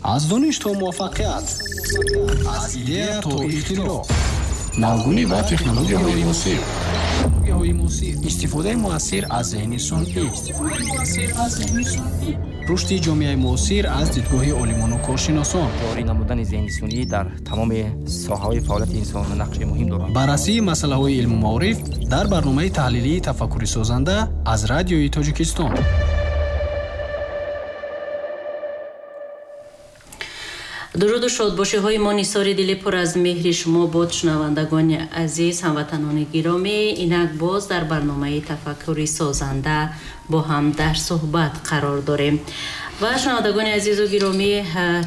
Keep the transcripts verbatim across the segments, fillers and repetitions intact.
Аз дониш то муваффақият, аз идея то ихтироъ, навгунӣ ва технологияҳои муосир, истифодаи муассир аз зеҳни сунъӣ, рушди ҷомеаи муосир аз дидгоҳи олимону коршиносон, ҷорӣ намудани зеҳни сунъӣ дар тамоми соҳаҳои фаъолияти инсон нақши муҳим дорад. Баррасии масъалаҳои илму маориф дар барномаи таҳлилии тафаккури созанда аз Радиои Тоҷикистон. Дуруду шодбошиҳои мо нисори дили пур аз меҳри шумо бод, шунавандагони азиз, ҳамватанони гиромӣ. Инак боз дар барномаи тафаккури созанда бо ҳам дар суҳбат қарор дорем. Ва шунавандагони азизу гиромӣ,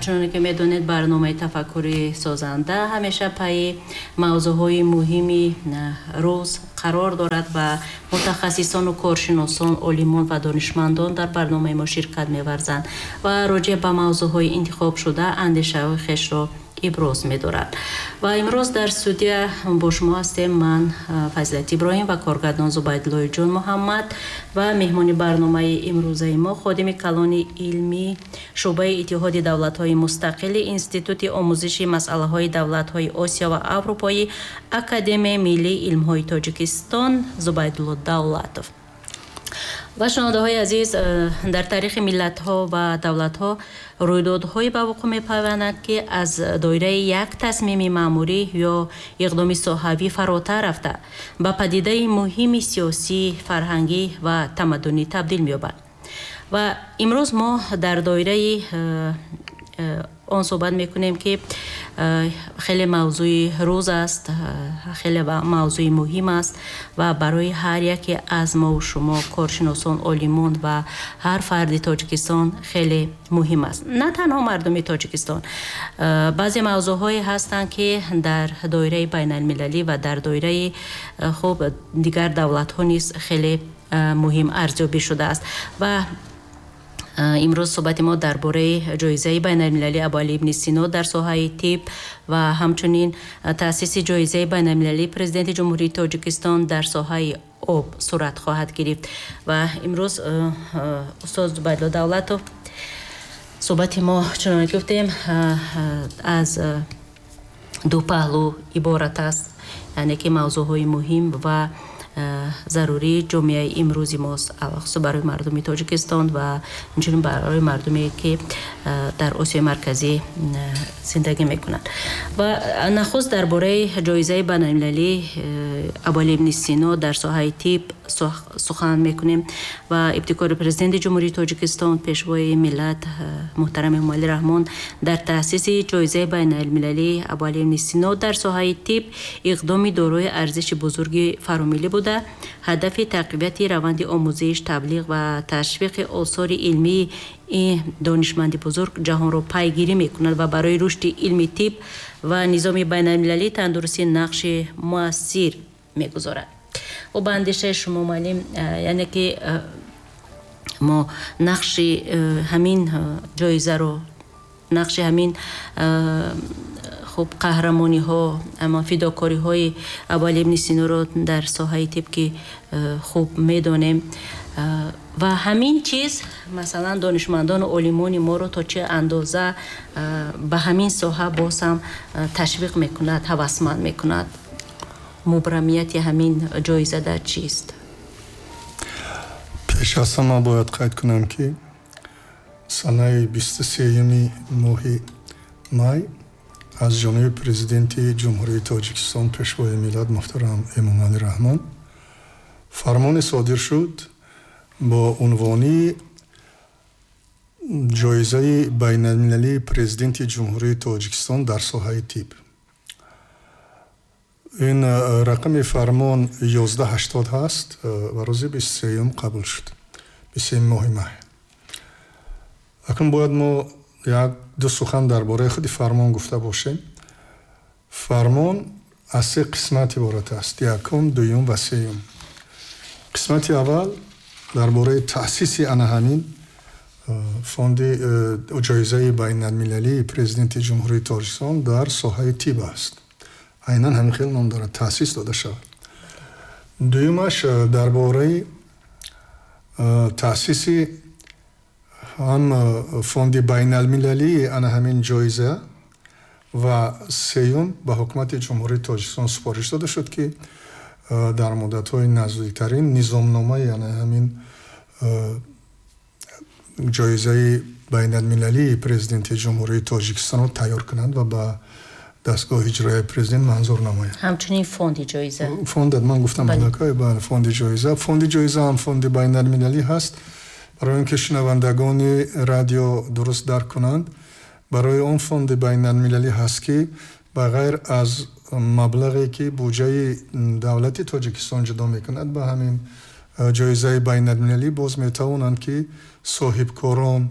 чуноне ки медонед, барномаи тафаккури созанда ҳамеша пайи мавзӯъҳои муҳими рӯз қарор дорад ва мутахассисону коршиносон, олимон ва донишмандон дар барномаи мо ширкат меварзанд ва роҷеъ ба мавзӯъҳои интихобшуда андешаҳои хешро иброз медорад. Ва имрӯз дар студия бо шумо ҳастем ман, Фазилат Иброҳим, ва коргардон Зубайдуллоҷон Муҳаммад ва меҳмони барномаи имрӯзаи мо ходими калони илмӣ шӯъбаи Иттиҳоди давлатҳои мустақили Институти омӯзиши масъалаҳои давлатҳои Осиё ва Аврупои Академияи миллии илмҳои Тоҷикистон Зубайдулло Давлатов. Ва шунавандаҳои азиз, дар таърихи миллатҳо ва давлатҳо рӯйдодҳое ба вуқӯъ мепайванданд, ки аз доираи як тасмими маъмурӣ ё иқдоми соҳавӣ фаротар рафта ба падидаи муҳими сиёсӣ, фарҳангӣ ва тамаддунӣ табдил меёбанд. Ва имрӯз мо дар доираи он суҳбат мекунем, ки хеле мавзӯи рӯз аст, хеле мавзӯи муҳим аст ва барои ҳар яке аз мову шумо, коршиносон, олимон ва ҳар фарди Тоҷикистон хеле муҳим аст. На танҳо мардуми Тоҷикистон. Баъзе мавзӯъҳое ҳастанд, ки дар доираи байналмилалӣ ва дар доираи хуб дигар давлатҳо низ хеле муҳим арзёбӣ шудааст. Ва имрӯз суҳбати мо дар бораи ҷоизаи байналмилалии Абуалӣ ибни Сино дар соҳаи тиб ва ҳамчунин таъсиси ҷоизаи байналмилалии Президенти Ҷумҳурии Тоҷикистон дар соҳаи об сурат хоҳад гирифт. Ва имрӯз устод Зубайдулло Давлатов, суҳбати мо чуноне ки гуфтем аз ду паҳлӯ иборат аст, яъне ки мавзӯъҳои муҳим ва зарурии ҷомеаи имрӯзи мост, алахусус барои мардуми Тоҷикистон ва инчунин барои мардуме, ки дар Осиёи Марказӣ зиндагӣ мекунанд. Ва нахуст дар бораи ҷоизаи байналмилалии Абуалӣ ибни Сино дар соҳаи тиб сухан мекунем ва ибтикори Президенти Ҷумҳурии Тоҷикистон, Пешвои миллат муҳтарам Эмомалӣ Раҳмон дар таъсиси ҷоизаи байналмилалии Абуалӣ ибни Сино дар соҳаи тиб иқдоми дорои арзиши бузурги фаромиллӣ буда, ҳадафи тақвияти раванди омӯзиш, таблиғ ва ташвиқи осори илмии ин донишманди бузург ҷаҳонро пайгирӣ мекунад ва барои рушди илми тиб ва низоми байналмилалии тандурустӣ нақши муассир мегузорад. Ӯ ба андешаи шумо, муаллим, яъне ки мо нақши ҳамин ҷоизаро, нақши ҳамин хуб қаҳрамониҳо, ама фидокориҳои Абуалӣ ибни Синоро дар соҳаи тиб ки хуб медонем ва ҳамин чиз масалан донишмандону олимони моро то чӣ андоза ба ҳамин соҳа боз ҳам ташвиқ мекунад, ҳавасманд мекунад? Мубрамияти ҳамин ҷоиза дар чист? Пеш аз ҳама бояд қайд кунам, ки санаи бисту сеюми моҳи май аз ҷониби Президенти Ҷумҳурии Тоҷикистон, Пешвои миллат муҳтарам Эмомалӣ Раҳмон фармоне содир шуд бо унвони ҷоизаи байналмилалии Президенти Ҷумҳурии Тоҷикистон дар соҳаи тиб. Ин рақами фармон ёздаҳ ҳаштод ҳаст ва рӯзи бисту сеюм қабул шуд, бисту сеюми моҳи май. Акнун бояд мо як ду сухан дар бораи худи фармон гуфта бошем. Фармон аз се қисмат иборат аст: якум, дуюм ва сеюм. Қисмати аввал дар бораи таъсиси ана ҳамин фонди ҷоизаи байналмилалии Президенти Ҷумҳурии Тоҷикистон дар соҳаи тиб аст. Айнан ҳамин хел ном дорад, таъсис дода шавад. Дуюмаш дар бораи таъсиси Ҳам фонди байналмилалии ана ҳамин ҷоиза ва сеюм ба ҳукумати Ҷумҳурии Тоҷикистон супориш дода шуд, ки дар муддатҳои наздиктарин низомномаи ана ҳамин ҷоизаи байналмилалии президенти Ҷумҳурии Тоҷикистонро тайёр кунанд ва ба дастгоҳи иҷроияи президент манзур намояд. Ҳамчунин фонди ҷоиза. Фонд, ман гуфтам, бале, фонди ҷоиза. Фонди ҷоиза ҳам фонди байналмилалӣ ҳаст. Барои он ки шунавандагони радио дуруст дарк кунанд, барои он фонди байналмилалӣ ҳаст, ки ба ғайр аз маблағе ки буҷаи давлати Тоҷикистон ҷудо мекунад ба ҳамин ҷоизаи байналмилалӣ, боз метавонанд ки соҳибкорон,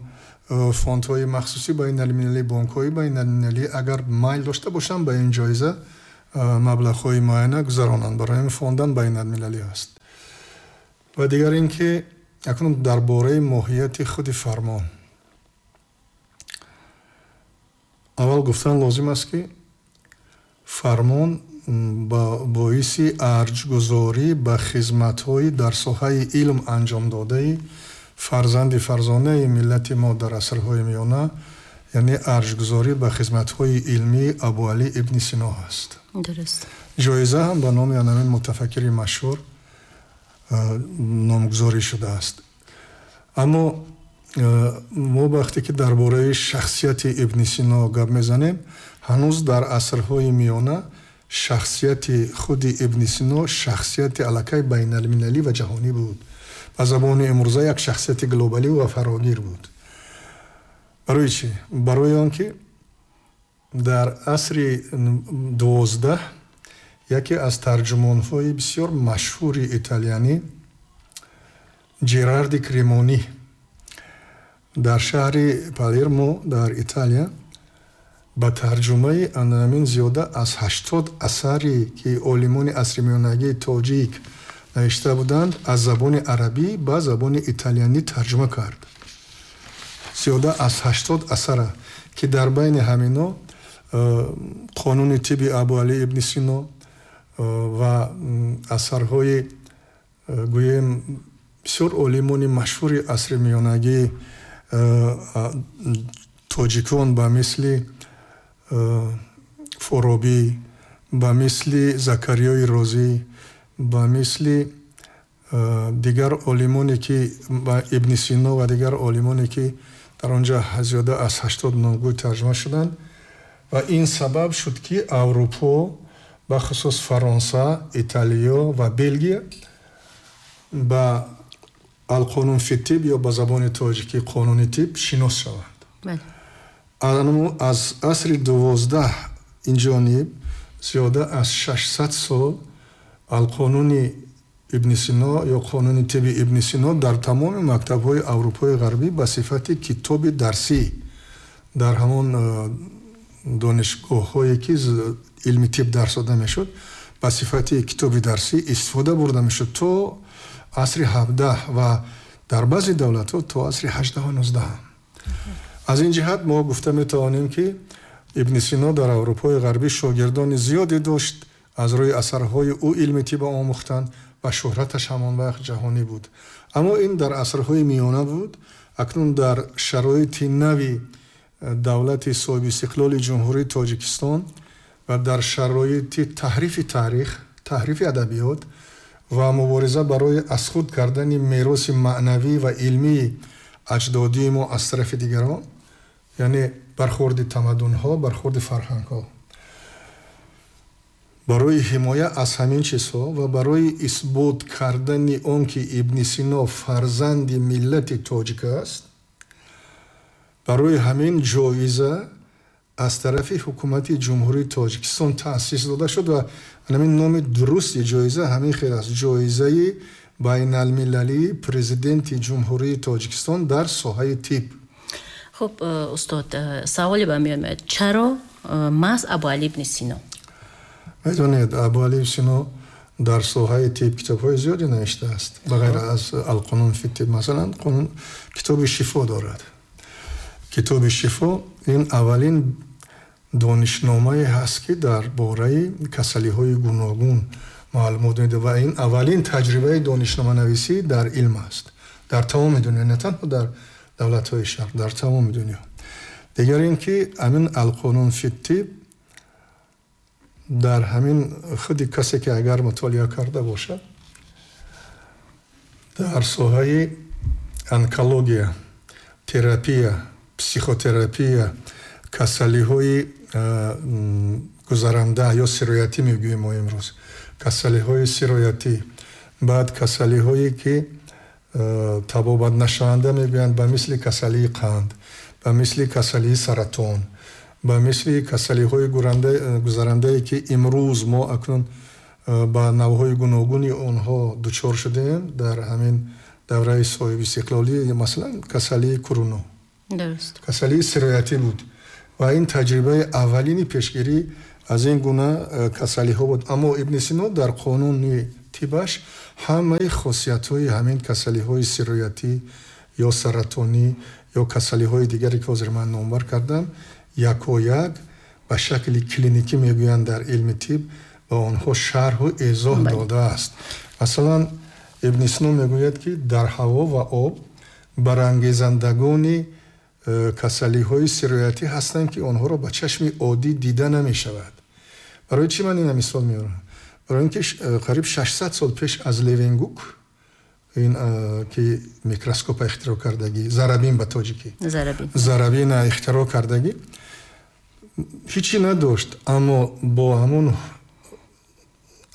фондҳои махсуси байналмилалӣ, бонкҳои байналмилалӣ агар майл дошта бошанд ба ин ҷоиза маблағҳои муайяна гузаронанд. Барои ин фондам байналмилалӣ аст. Ва дигар ин ки акнун дар бораи моҳияти худи фармон. Аввал гуфтан лозим аст, ки фармон ба боиси арҷгузорӣ ба хизматҳои дар соҳаи илм анҷомдодаи фарзанди фарзонаи миллати мо дар асрҳои миёна, яъне арҷгузорӣ ба хизматҳои илмии Абуалӣ ибни Сино аст. Дуруст. Ҷоиза ҳам ба номи ҳамин мутафаккири машҳур номгузорӣ шудааст. Аммо мо вақте ки дар бораи шахсияти ибни Сино гап мезанем, ҳанӯз дар асрҳои миёна шахсияти худи ибни Сино шахсияти аллакай байналмилалӣ ва ҷаҳонӣ буд. Ба забони имрӯза як шахсияти глобалӣ ва фарогир буд. Барои чӣ? Барои он ки дар асри дувоздаҳ яке аз тарҷумонҳои бисёр машҳури италиянӣ Ҷерарди Кремонӣ дар шаҳри Палермо дар Италия ба тарҷумаи анамин зиёда аз ҳаштод асаре ки олимони асри миёнагии тоҷик навишта буданд, аз забони арабӣ ба забони италиянӣ тарҷума кард. Зиёда аз ҳаштод асара, ки дар байни ҳамино қонуни тибби Абуалӣ ибни Сино ва асарҳои гӯем бисёр олимони машҳури асри миёнагии тоҷикон ба мисли Форобӣ, ба мисли Закариёи Розӣ, ба мисли дигар олимоне ки ибни Сино ва дигар олимоне ки дар онҷа зиёда аз ҳаштод номгӯй тарҷума шуданд. Ва ин сабаб шуд, ки Аврупо, бахусус Фаронса, Италиё ва Белгия ба алқонун фи тиб ё ба забони тоҷикӣ қонуни тиб шинос шаванд. Аз асри дувоздаҳ инҷониб зиёда аз шашсад сол алқонуни ибни Сино ё қонуни тибби ибни Сино дар тамоми мактабҳои Аврупои ғарбӣ ба сифати китоби дарсӣ дар ҳамон донишгоҳҳое ки илми тиб дарс дода мешуд, ба сифати китоби дарсӣ истифода бурда мешуд то асри ҳабдаҳ ва дар баъзе давлатҳо то асри ҳаждаҳу нуздаҳ. Аз ин ҷиҳат мо гуфта метавонем, ки ибни Сино дар Аврупои ғарбӣ шогирдони зиёде дошт, аз рӯи асарҳои ӯ илми тиб омӯхтанд ва шӯҳраташ ҳамон вақт ҷаҳонӣ буд. Аммо ин дар асрҳои миёна буд. Акнун дар шароити нави давлати соҳибистиқлоли Ҷумҳурии Тоҷикистон ва дар шароити таҳрифи таърих, таҳрифи адабиёт ва мубориза барои аз худ кардани мероси маънавӣ ва илмии аҷдодии мо аз тарафи дигарон, яъне бархӯрди тамаддунҳо, бархӯрди фарҳангҳо, барои ҳимоя аз ҳамин чизҳо ва барои исбот кардани он ки ибни Сино фарзанди миллати тоҷик аст, барои ҳамин ҷоиза аз тарафи ҳукумати Ҷумҳурии Тоҷикистон таъсис дода шуд ва ҳамин номи дурусти ҷоиза ҳамин хел аст: ҷоизаи байналмилалии президенти Ҷумҳурии Тоҷикистон дар соҳаи тиб. Хуб, устод, саволе ба миён меояд: чаро маҳз Абуалӣ ибни Сино? Медонед, Абуалӣ ибни Сино дар соҳаи тиб китобҳои зиёде навиштааст. Ба ғайр аз Алқонун фи тиб, масалан, қонун китоби шифо дорад. Китоби шифо ин аввалин донишномае ҳаст, ки дар бораи касалиҳои гуногун маълумот медиҳад ва ин аввалин таҷрибаи донишноманависӣ дар илм аст дар тамоми дунё, на танҳо дар давлатҳои шарқ, дар тамоми дунё. Дигар ин ки ҳамин Алқонун фи тиб дар ҳамин худи касе ки агар мутолиа карда бошад дар соҳаи онкология, терапия, психотерапия, касалиҳои гузаранда ё сироятӣ мегӯем мо имрӯз, касалиҳои сироятӣ, баъд касалиҳое ки табобат нашаванда мегӯянд, ба мисли касалии қанд, ба мисли касалии саратон, ба мисли касалиҳои гузарандае ки имрӯз мо акнун ба навъҳои гуногуни онҳо дучор шудаем дар ҳамин давраи соҳибистиқлолӣ, масалан касалии куруно, касалии сироятӣ буд ва ин таҷрибаи аввалини пешгирӣ аз ин гуна касалиҳо буд. Аммо Ибни Сино дар қонуни тибаш ҳамаи хосиятҳои ҳамин касалиҳои сироятӣ ё саратонӣ ё касалиҳои дигаре ки ҳозир ман номбар кардам, якояк ба шакли клиникӣ мегӯянд дар илми тиб ба онҳо шарҳу эзоҳ додааст. Масалан, Ибни Сино мегӯяд ки дар ҳаво ва об барангезандагони касалиҳои сироятӣ ҳастанд ки онҳоро ба чашми оддӣ дида намешавад. Барои чӣ ман ина мисол меорам? Барои ин ки қариб шашсад сол пеш аз Левенгук, ин ки микроскопа ихтироъ кардагӣ, зарабин ба тоҷикӣ, зарабина ихтироъ кардагӣ, ҳичи надошт, аммо бо ҳамон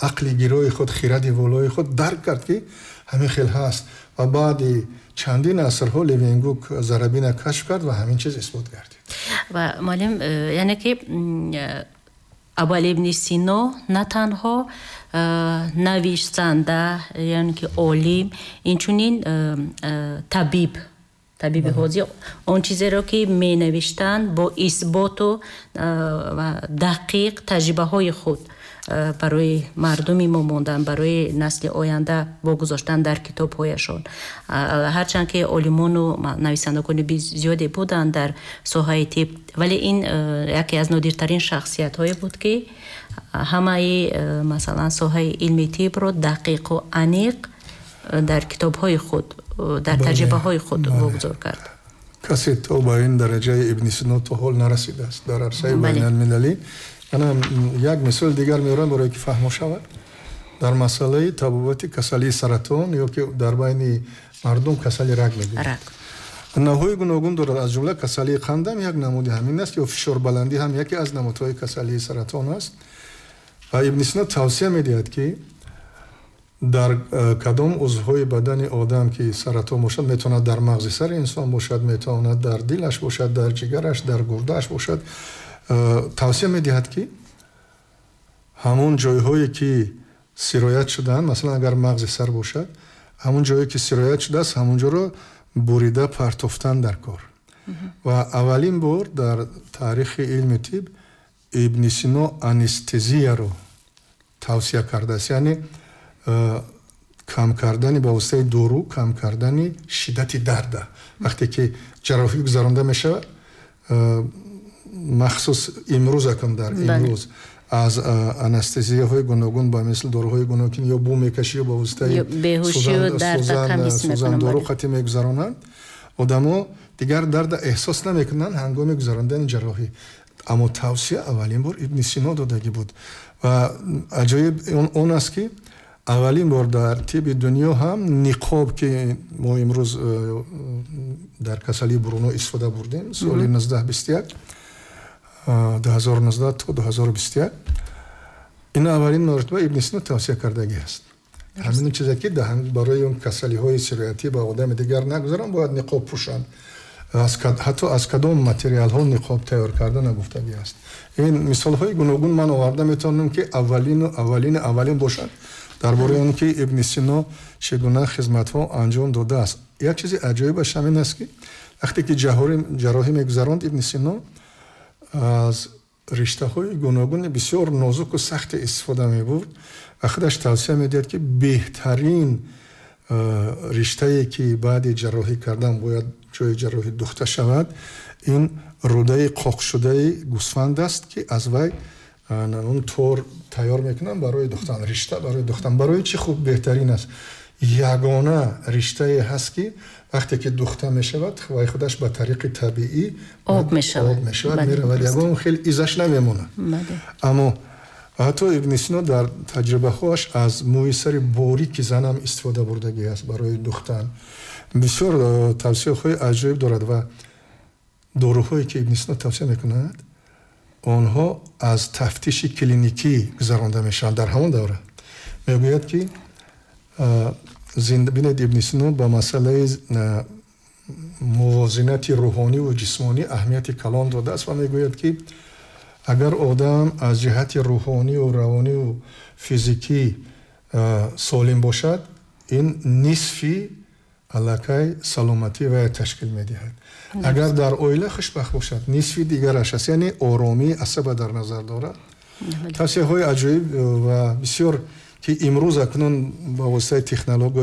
ақли гирои худ, хиради волои худ дарк кард ки ҳамин хел ҳаст ва баъди чандин асрҳо Левенгук зарабина кашф кард ва ҳамин чиз исбот гардид. Ва муаллим, яъне ки Абуалӣ ибни Сино на танҳо нависанда, яъне ки олим, инчунин табиб, табиби ҳозир, он чизеро ки менавиштанд бо исботу ва дақиқ таҷрибаҳои худ барои мардуми мо монданд, барои насли оянда вогузоштанд дар китобҳояшон. Ҳарчанд ки олимону нависандагони зиёде буданд дар соҳаи тиб, вале ин яке аз нодиртарин шахсиятҳое буд ки ҳамаи масалан соҳаи илми тибро дақиқу аниқ дар китобҳои худ, дар таҷрибаҳои худ вогузор кард. Касе то ба ин дараҷаи Ибни Сино то ҳол нарасидааст дар арсаи байналмилалӣ. Ана як мисол дигар меорам барои ки фаҳмо шавад. Дар масъалаи табобати касалии саратон ё ки дар байни мардум касали рак мегӯянд. Навъҳои гуногун дорад, аз ҷумла касалии қанд ҳам як намуди ҳамин аст, ё фишорбаландӣ ҳам яке аз намудҳои касалии саратон аст. Ва Ибни Сино тавсия медиҳад ки дар кадом узвҳои бадани одам ки саратон бошад, метавонад дар мағзи сари инсон бошад, метавонад дар дилаш бошад, дар ҷигараш, дар гурдааш бошад, тавсия медиҳад ки ҳамон ҷойҳое ки сироят шудаанд, масалан агар мағзи сар бошад, ҳамон ҷое ки сироят шудааст, ҳамон ҷоро бурида партофтан дар кор. Ва аввалин бор дар таърихи илми тиб Ибни Сино анестезияро тавсия кардааст, яъне кам кардани ба воситаи дору, кам кардани шиддати дарда. Вақте ки ҷарроҳӣ гузаронда мешавад, махсус имрӯз акам дар имрӯз аз анестезияҳои гуногун ба мисли доруҳои гуногун ё бу мекашӣ ё ба воситаи сӯзан дору қатъӣ мегузаронанд, одамо дигар дарда эҳсос намекунанд ҳангоми гузарондани ҷарроҳӣ. Аммо тавсия аввалин бор Ибни Сино додагӣ буд ва аҷоиб он аст ки аввалин бор дар тиби дунё ҳам ниқоб ки мо имрӯз дар касалии Бруно истифода бурдем соли нуздаҳ бисту як, ду ҳазору нуздаҳ то ду ҳазору бисту як, ин аввалин маротиба Ибни Сино тавсия кардагӣ аст. Ҳамин чизе ки барои он касалиҳои сироятӣ ба одами дигар нагузаранд, бояд ниқоб пӯшанд. Ҳатто аз кадом материалҳо ниқоб тайёр карда нагуфтагӣ аст. Ин мисолҳои гуногун ман оварда метавонам ки аввалину аввалини аввалин бошад дар бораи он ки Ибни Сино чӣ гуна хизматҳо анҷом додааст. Як чизи аҷоибаш ҳамин аст ки вақте ки ҷарроҳӣ мегузаронд, Ибни Сино аз риштаҳои гуногуни бисёр нозуку сахте истифода мебурд ва худаш тавсия медиҳад ки беҳтарин риштае ки баъди ҷарроҳӣ кардан бояд ҷои ҷарроҳӣ духта шавад, ин рӯдаи қоқшудаи гӯсфанд аст ки аз вай он тор тайёр мекунанд барои духтан, ришта барои духтан. Барои чӣ хуб беҳтарин аст? Ягона риштае ҳаст, ки вақте ки духта мешавад, вай худаш ба тариқи табиӣ об мешавад, об мешавад, меравад, ягон хел изаш намемонад. Аммо ҳатто Ибни Сино дар таҷрибаҳоаш аз мӯи сари борики занам истифода бурдагӣ аст барои духтан. Бисёр э, тавсияҳои аҷоиб дорад ва доруҳое, ки Ибни Сино тавсия мекунад, онҳо аз тафтиши клиникӣ гузаронда мешаванд. Дар ҳамон давра мегӯяд, ки бинед, Ибни Сино ба масъалаи мувозинати рӯҳониву ҷисмонӣ аҳамияти калон додааст ва мегӯяд, ки агар одам аз ҷиҳати рӯҳониву равониву физикӣ солим бошад, ин нисфи аллакай саломатӣ вая ташкил медиҳад. Агар дар оила хушбахт бошад, нисфи дигараш аст, яъне оромии асаба дар назар дорад. Тавсияҳои аҷоиб ва бисёр, ки имрӯз акнун ба воситаи технология